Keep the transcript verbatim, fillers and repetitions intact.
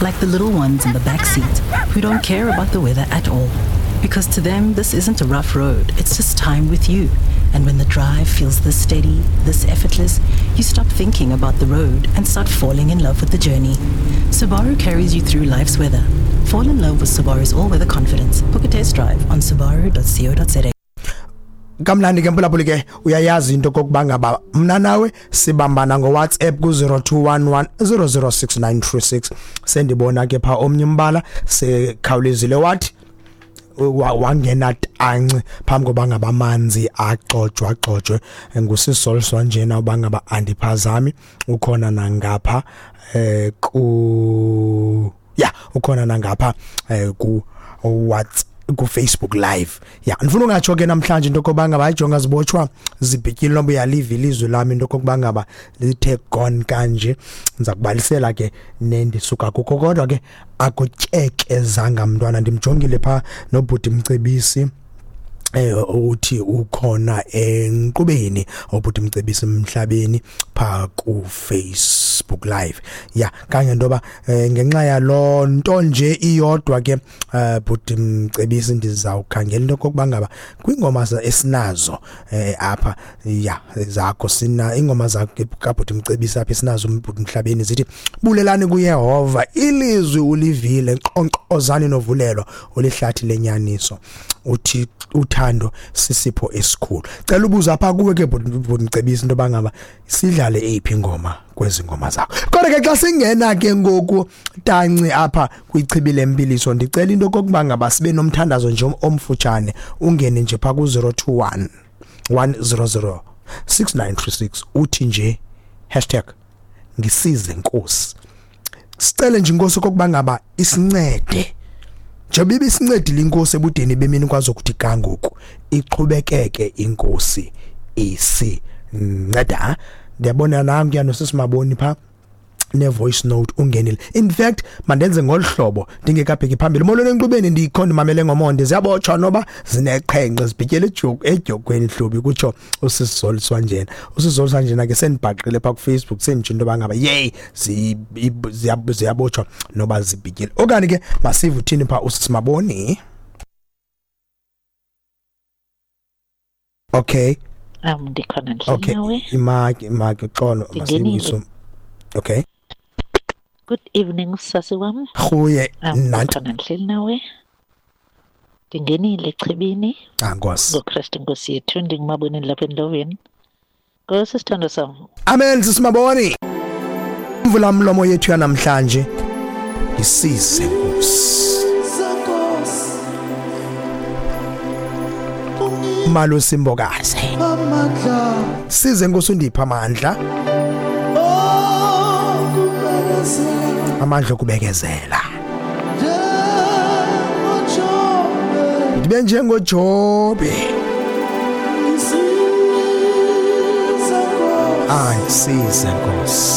Like the little ones in the back seat who don't care about the weather at all. Because to them, this isn't a rough road, it's just time with you. And when the drive feels this steady, this effortless, you stop thinking about the road and start falling in love with the journey. Subaru carries you through life's weather. Fall in love with Subaru's all-weather confidence. Book a test drive on subaru dot co dot za. Kamnandi ke mphulaphuli ke uyayazi into kokuba ngaba mna nawe sibambana ngo WhatsApp ku zero two one one zero zero six nine three six. Sendibona ke pha omnye umbala sekhawulezile wathi wangena tanci phambi koba ngaba amanzi axojwa axojwe ngusisolswa njena uba ngaba andiphazami ukhona nangapha eh ku ya ukhona nangapha eh ku WhatsApp ku Facebook Live. Ya ndifuna ungatsho ke namhlanje into kokuba ngaba ayijonga zibotshwa zibhityile nomba uyaliva ilizwi lami into kokuba ngaba lithe gone kanje. Ndiza kubalisela ke nendisuka kukho kodwa ke akutyekezanga mntwana. Ndimjongile pha nobhuti Mcebisi eh uthi ukhona enqubeni obhuti Mcebisi emhlabeni pha ku Facebook Live. Ya kanye ndoba ngenxa yalo nto nje iyodwa ke bhuti Mcebisi ndizawukhangela into kokuba ngaba kwingoma esinazo apha ya zakho sina ingoma zakho kabhuti Mcebisi apha esinazo bhuti emhlabeni zithi bulelani kuYehova ilizwi ulivile nqonqozani novulelo olihlathi lenyaniso uthi uthando sisipho esikhulu. Cela ubuza apha kuwe ke bhuti Mcebisi into bangaba sidlale eyiphi ingoma kwezi ngoma zakho. Kodwa ke xa singena ke ngoku tanci apha kwichibi lempiliso ndicela into kokuba ngaba sibe nomthandazo nje omfutshane ungene nje pha ku zero two one one zero zero six nine three six uthi nje hashtag ngisize Nkosi. Sicele nje inkosi kokuba ngaba isincede njengoba ibisincedile inkosi ebudeni bemini kwazokuthi kangoku iqhubekeke inkosi isinceda. Ndiyabona nangu yanosesimaboni pha ne voice note ungenile. In fact mandenze ngolhlobo ndingekabheki phambili. Molweni enqubeni ndikhona mamele ngomonde ziyabotshwa noba zineqhenqe zibhityele edyokweni hlobi kutsho usizoliswa njena. Usizoliswa njena ke sendibhaqile pha ku Facebook senditsho into bangaba yey ziyabotshwa noba zibhityele. Okanye ke masive uthini pha usisimaboni. Okay. Um ndikhona nje okay. Nawe. Imaki imaki xolo masibiso. Okay. Good evening sasi wam. Khuye nanti ndihleli nawe. Ndingenile echibini. Ah Nkosi. NgoKristu Nkosi yethu ndingumaboneni lapha endloveni. Nkosi sithando sam. Amen sisimaboni. Mvula mlomo yethu yanamhlanje. Ngisize Nkosi. Malusi Mbokazi. Size Nkosi undipha amandla. Amandla okubekezela. Ndibe njengoJobe. Ah, size Nkosi.